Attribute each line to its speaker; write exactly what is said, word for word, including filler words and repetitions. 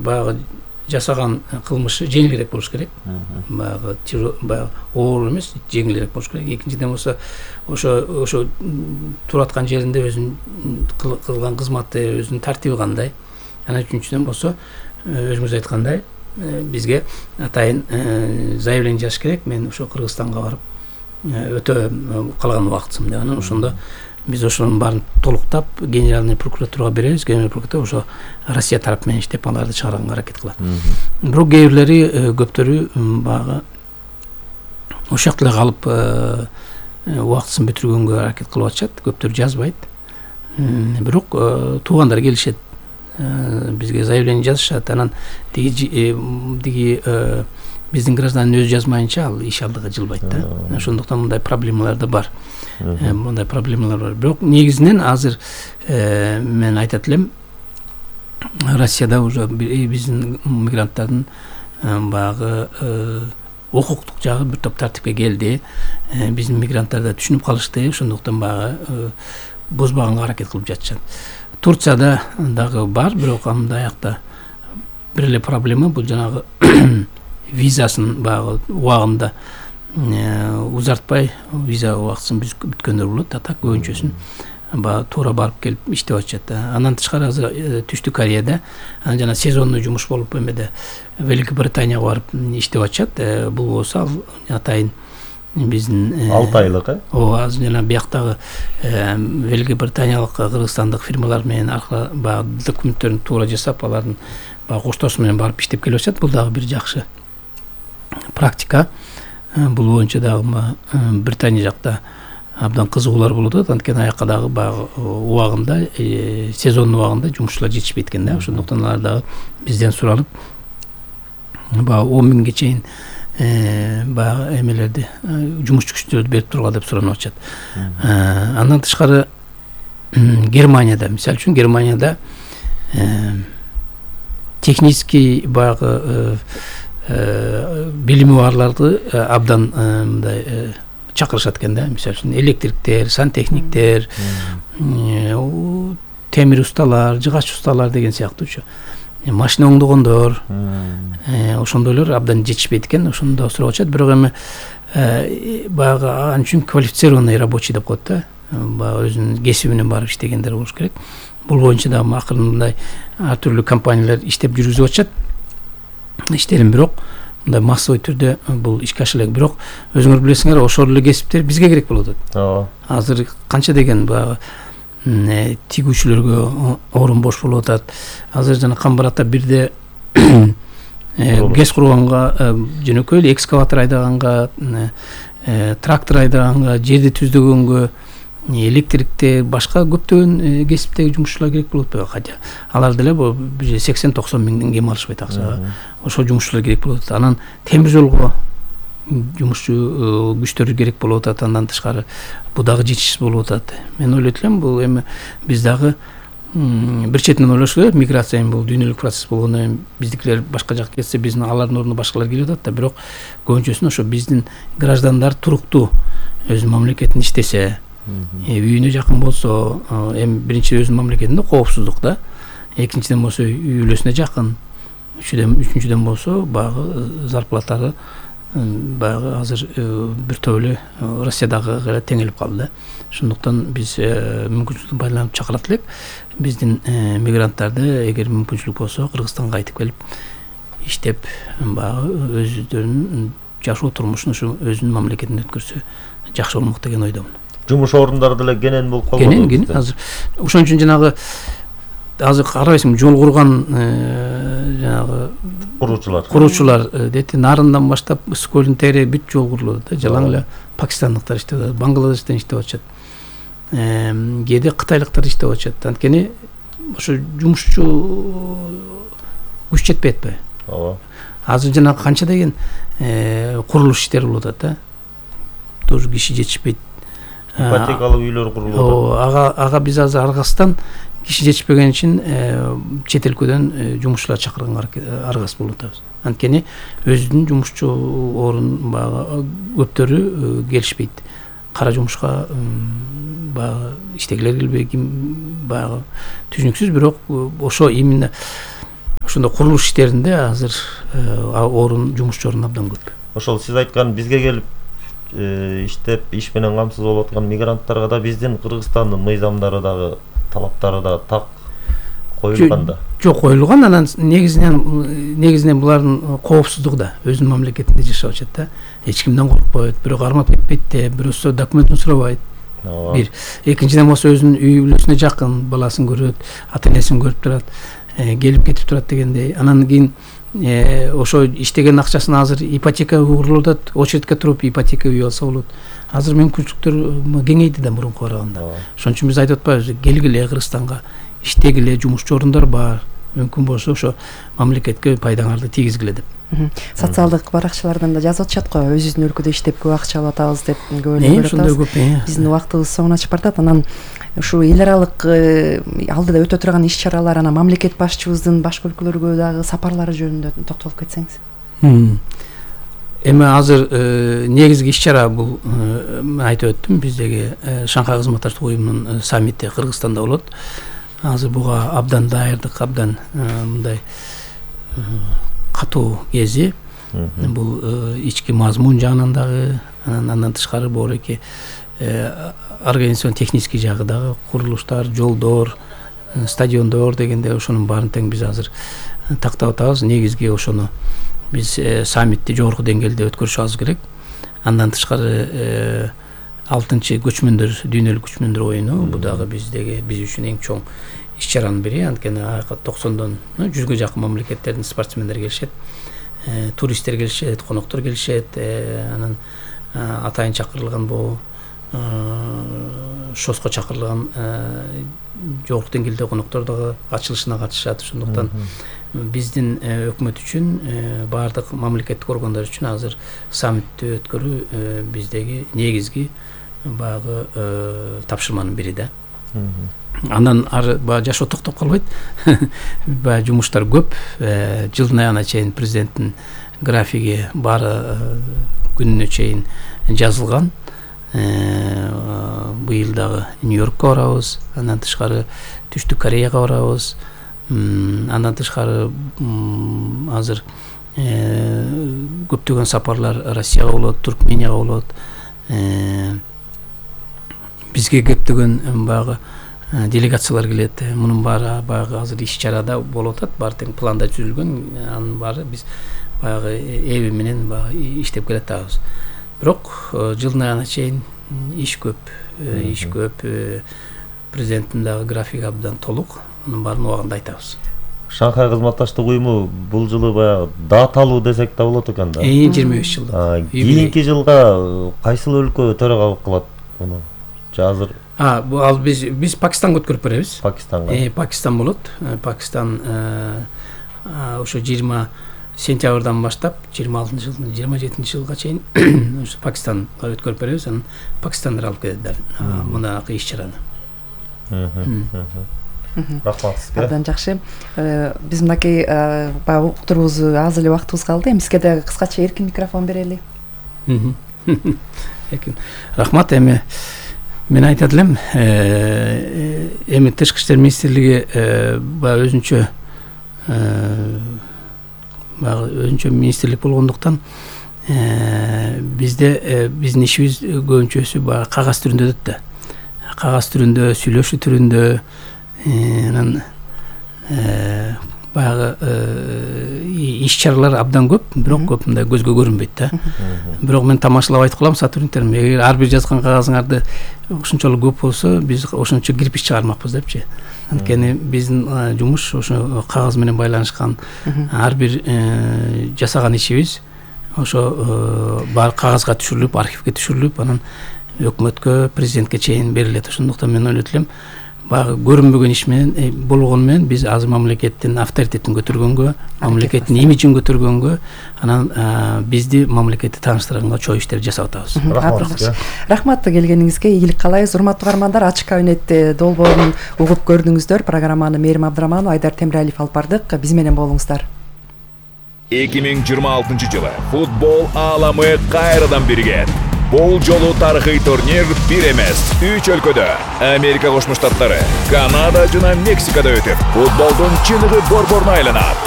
Speaker 1: баягы жасаган кылмышы жеңилирээк болуш керек. Баягы баягы оор эмес, жеңилирээк болуш керек. Экинчиден болсо ошо ошо тураткан жеринде өзүнүн кылган кызматы, өзүнүн тартиби кандай. Анан үчүнчүдөн болсо өзүңүз айткандай бизге атайын заявление жазыш керек. Мен ошо Кыргызстанга барып өтө калган убактысым деп. Анан ошондо биз ошонун баарын толуктап генеральный прокуратурага беребиз. Генеральный прокуратура ошо Россия тарап менен иштеп аларды чыгарганга аракет кылат. Бирок кээ бирлери көптөрү баягы ошол жакта калып убактысын бүтүргөнгө аракет кылып атышат. Көптөрү жазбайт. Бирок туугандар келишет. Бизге заявление жазышат. Анан тиги тиги биздин гражданин өзү жазмайынча ал иш алдыга жылбайт да. Ошондуктан мындай проблемалар да бар. Мындай проблемалар бар. Бирок негизинен азыр мен айтат элем, Россияда уже биздин мигранттардын баягы укуктук жагы бир топ тартипке келди. Биздин мигранттар да түшүнүп калышты. Ошондуктан баягы бузбаганга аракет кылып жатышат. Турцияда дагы бар, бирок андай жакта бир эле проблема бул жанагы визасын баягы убагында узартпай виза убактысын бүткөндөр болот. А так көбүнчөсүн баягы туура барып келип иштеп атышат. Андан тышкары азыр Түштүк Кореяда жана сезонный жумуш болуп эмеде Великобританияга барып иштеп атышат. Бул болсо атайын биздин
Speaker 2: алты айлык, э?
Speaker 1: Ооба, азыр жана бияктагы Великобританиялык, кыргызстандык фирмалар менен аркылуу баягы документтерин туура жасап, алардын баягы коштоосу менен барып иштеп келип атышат. Бул дагы бир жакшы практика. Бул боюнча дагы Британия жакта абдан кызыгуулар болуп атат. Анткени аякка дагы баягы убагында, сезон убагында жумушчулар жетишпейт экен да. Ошондуктан алар дагы бизден суралып баягы он миңге чейин баягы эмелерди, жумушчу күчтөрдү берип тургула деп суранып атышат. Андан тышкары Германияда, мисалы үчүн Германияда технический баягы билими барларды абдан мындай чакырышат экен да. Мисалы үчүн электриктер, сантехниктер, темир усталар, жыгач усталар деген сыяктуучу. Машина оңдогондор, ошондойлор абдан жетишпейт экен. Ошондо сурап атышат. Бирок эми баягы ал үчүн квалифицированный рабочий деп коет да. Баягы өзүнүн кесибинен барып иштегендер болуш керек. Бул боюнча да акырын мындай ар түрлүү компаниялар иштеп жүргүзүп атышат иштерин. Бирок мындай массовый түрдө бул ишке аша элек. Бирок өзүңөр билесиңер, ошол эле кесиптер бизге керек болуп атат. Ооба. Азыр канча деген баягы тигүүчүлөргө орун бош болуп атат. Азыр жана Камбарата бирде гез курганга, жөнөкөй эле экскаватор айдаганга, трактор айдаганга, жерди түздөгөнгө, электриктер, башка көптөгөн кесиптеги жумушчулар керек болуп атпайбы? Хотя алар деле сексен токсон миңден кем алышпайт акчага. Ошол жумушчулар керек болуп атат. Анан темир жолго жумушчу күчтөр керек болуп атат. Андан тышкары бул дагы жетишсиз болуп атат. Мен ойлойт элем, бул эми биз дагы бир четинен ойлош керек. Миграция бул дүйнөлүк процесс болгондон кийин биздикилер башка жакка кетсе, биздин алардын ордуна башкалар келип атат да. Бирок көбүнчөсүн ошо биздин граждандар туруктуу өзүнүн мамлекетинде иштесе, үйүнө жакын болсо, эми биринчи өзүнүн мамлекетинде коопсуздук да. Экинчиден болсо үй бүлөсүнө жакын. Үчүдөн үчүнчүдөн болсо баягы зарплатары баягы азыр бир топ эле Россиядагыга теңелип калды да. Ошондуктан биз мүмкүнчүлүктүн пайдаланып чакырат элек биздин мигранттарды, эгер мүмкүнчүлүк болсо, Кыргызстанга кайтып келип иштеп, баягы өздөрүнүн жашоо турмушун ушу өзүнүн мамлекетинде өткөрсө жакшы болмок деген ойдомун.
Speaker 2: Жумуш орундары деле кенен болуп калды.
Speaker 1: Кенен, кенен. Азыр ошон үчүн жанагы азыр карабайсың, жол курган жанагы
Speaker 2: куруучулар.
Speaker 1: Куруучулар дети нарындан баштап Сколин тери бүт жол курулат да. Жалаң эле пакистандыктар иштеп атат, Бангладештен иштеп атышат. Кээде кытайлыктар иштеп атышат. Анткени ошо жумушчу күч жетпей атпайбы?
Speaker 2: Ооба.
Speaker 1: Азыр жана канча деген курулуш иштери болуп атат да. Тоже киши жетишпейт.
Speaker 2: Ипотекалуу үйлөр курулуп атат.
Speaker 1: Ага ага биз азыр аргасыздан киши жетишпеген үчүн чет өлкөдөн жумушчулар чакырганга аргасыз болуп атабыз. Анткени өзүнүн жумушчу орун баягы көптөрү келишпейт. Кара жумушка баягы иштегилер келбей, баягы түшүнүксүз. Бирок ошо именно ошондой курулуш иштеринде азыр орун жумушчу орун абдан көп.
Speaker 2: Ошол сиз айткан бизге келип иштеп иш менен камсыз болуп аткан мигранттарга да биздин Кыргызстандын мыйзамдары дагы талаптары да так коюлган да.
Speaker 1: Жок, коюлган. Анан негизинен негизинен булардын коопсуздугу да өзүнүн мамлекетинде жашап атышат да. Эч кимден коркпойт, бирөө кармап кетпейт да, бирөөсү документин сурабайт. Бир. Экинчиден болсо өзүнүн үй бүлөсүнө жакын, баласын көрөт, ата энесин көрүп турат, келип кетип турат дегендей. Анан кийин ошо иштеген акчасын азыр ипотека курулуп атат, очередке туруп ипотека үй алса болот. Азыр мүмкүнчүлүктөр кеңейди да мурунку караганда. Ошон үчүн биз айтып атпайбызбы, келгиле Кыргызстанга, иштегиле, жумушчу орундар бар. Мүмкүн болсо ошо мамлекетке пайдаңарды тийгизгиле деп.
Speaker 3: Социалдык баракчалардан да жазып атышат го, өзүбүздүн өлкөдө иштеп көп акча алып атабыз деп көп эле көрүп атабыз. Биздин убактыбыз соңуна чыгып баратат. Анан ушу эл аралык алдыда өтө турган иш чаралар, анан мамлекет башчыбыздын башка өлкөлөргө дагы сапарлары жөнүндө токтолуп кетсеңиз.
Speaker 1: Эми азыр негизги иш чара бул айтып өттүм, биздеги Шанхай кызматташтык уюмунун саммити Кыргызстанда болот. Азыр буга абдан даярдык, абдан мындай катуу кези. Бул ички мазмун жагынан дагы, андан тышкары боореки организацион технический жагы дагы, курулуштар, жолдор, стадиондор дегенде ошонун баарын тең биз азыр тактап атабыз. Негизги ошону биз саммитти жогорку деңгээлде өткөрүшүбүз керек. Андан тышкары алтынчы көчмөндөр, дүйнөлүк көчмөндөр оюну, бул дагы биздеги биз үчүн эң чоң иш чаранын бири. Анткени аяка токсондон жүзгө жакын мамлекеттердин спортсмендери келишет, туристтер келишет, коноктор келишет. Анан атайын чакырылган бул шоско чакырылган жогорку деңгээлде коноктор дагы ачылышына катышат. Ошондуктан биздин өкмөт үчүн, баардык мамлекеттик органдар үчүн азыр саммитти өткөрүү биздеги негизги баягы тапшырманын бири да. Андан ары баягы жашоо токтоп калбайт. Баягы жумуштар көп. Жылдын аягына чейин президенттин графиги баары күнүнө чейин жазылган. Быйыл дагы Нью-Йоркко барабыз, андан тышкары Түштүк Кореяга барабыз. Андан тышкары азыр көптөгөн сапарлар Россияга болот, Туркменияга болот. Бизге көптөгөн баягы делегациялар келет. Мунун баары баягы азыр иш чарада болуп атат, баары тең планда түзүлгөн. Анын баары биз баягы эби менен баягы иштеп келатабыз. Бирок жылдын аягына чейин иш көп, иш көп. Президенттин дагы графиги абдан толук. Анын баарын убагында айтабыз.
Speaker 2: Шанхай кызматташтык уюму бул жылы баягы даталуу десек да болот экен да.
Speaker 1: жыйырма беш жылдык.
Speaker 2: Кийинки жылга кайсыл өлкө төрагалык кылат муну? Азыр
Speaker 1: А, бул ал биз биз Пакистанга өткөрүп беребиз.
Speaker 2: Пакистанга.
Speaker 1: Э, Пакистан болот. Пакистан ошо жыйырма сентябрдан баштап жыйырма алтынчы жылдын жыйырма жетинчи жылга чейин ошо Пакистанга өткөрүп беребиз. Анан Пакистандыр алып келет мындагы иш чараны.
Speaker 2: Рахмат сизге.
Speaker 3: Абдан жакшы. Биз мынакей баягы уктурубузду аз эле убактыбыз калды. Эми сизге да кыскача эркин микрофон берели.
Speaker 1: Эркин. Рахмат. Эми мен айтат элем, эми Тышкы иштер министрлиги баягы өзүнчө баягы өзүнчө министрлик болгондуктан бизде биздин ишибиз көбүнчөсү баягы кагаз түрүндө өтөт да. Кагаз түрүндө, сүйлөшүү түрүндө, анан баягы иш чаралар абдан көп, бирок көп мындай көзгө көрүнбөйт да. Бирок мен тамашалап айтып калам сотрудниктерим, эгер ар бир жазган кагазыңарды ошончолук көп болсо, биз ошончо кирпич чыгармакпыз депчи. Анткени биздин жумуш ошо кагаз менен байланышкан, ар бир жасаган ишибиз ошо бар кагазга түшүрүлүп, архивге түшүрүлүп, анан өкмөткө, президентке чейин берилет. Ошондуктан мен ойлойт элем, баягы көрүнбөгөн иш менен болгону менен биз азыр мамлекеттин авторитетин көтөргөнгө, мамлекеттин имиджин көтөргөнгө, анан бизди мамлекетти тааныштырганга чоң иштер жасап атабыз.
Speaker 2: Рахмат.
Speaker 3: Рахмат келгениңизге, ийгилик каалайбыз. Урматтуу угармандар, ачык кабинетти долбоорун угуп көрдүңүздөр. Программаны Мээрим Абдыраманова, Айдар Темиралиев алып бардык. Биз менен болуңуздар.
Speaker 4: эки миң жыйырма алтынчы жылы футбол ааламы кайрадан биригет. Бул жолу тарыхый турнир бир эмес, үч өлкөдө, Америка Кошмо Штаттары, Канада жана Мексикада өтүп, футболдун чыныгы борборуна айланат.